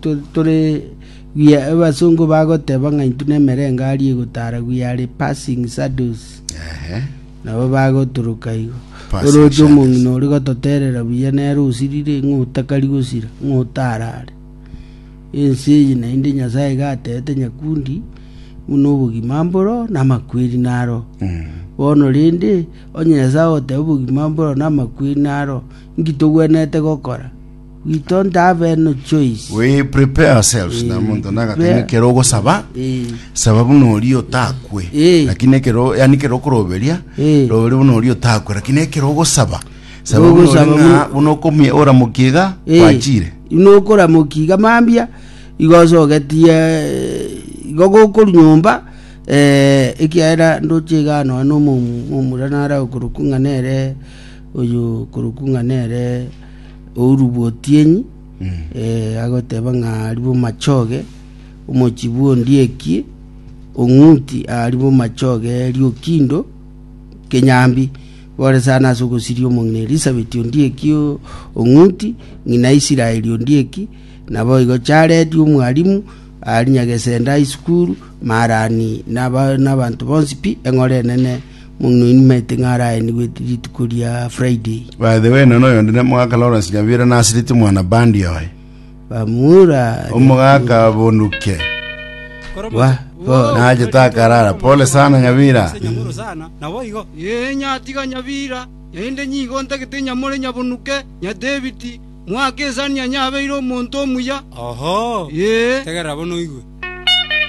Tore we are abasongo bagoteba ng'a intwe nemerengari egotara we are passing shadows. Ehe. Nabo bagotoroka igo. Passing Oroche shadows. omong'ina ore gototerera buya nere osirire ng'a otakari gosira ng'a otarare. Ense eye naende Nyasaye iga atebete nyakundi buna obogima mboro na amakweri naro. Bono rende onye Nyasaye ogoteba obogima mboro na amakweri naro, inki togwenerete gokora? We don't have any choice. We prepare ourselves na monto nagatenga Prepare. ekero ogosaba Eh. saba buna oria otakwe Eh. lakini ekero yani ekero okoroberia Eh. roberia buna oria otakwe lakini ekero ogosaba saba buna oria Ogosaba ng'a buna- buna okomia oramokia iga Eh, gwachire Nokoramokia iga mambia igo osogetie eh, igo gokorwa nyomba eh, ekiagera ndoche iga nonya na omo- omomura nare okorokwa ng'a nere oyo okorokwa ng'a nere Ouru bw'otienyi, eh, agoteba ng'a aria bomachoge, omochie bw'ondieki, ong'uti aria bomachoge riokindo kenyambi, bore sana ase ogosiria omong'ina Elisabeti ondieki o- ong'uti, ng'ina Israeli ondieki, naboigo Jaredi omwalimu, aria Nyagesenda High School, Marani, naba nabanto bonsi pi, eng'ora enene Omong'ina oyio nimaete ng'a araenigwe rituko ria Friday. By the way, nono oyonde ne mogaka Lawrence Nyabira nasirete mwana bandi oye. Bamura Omogaka bonuke. Wa, bo. Nache takarara. Pole sana Nyabira. Ee, nyatiga Nyabira, naende nigo ntagete nyamore nyabonuke, Nyadebiti, mwake esani ya nyabeire omonto omuya. Oho, Ee. tegerera bono oigwe.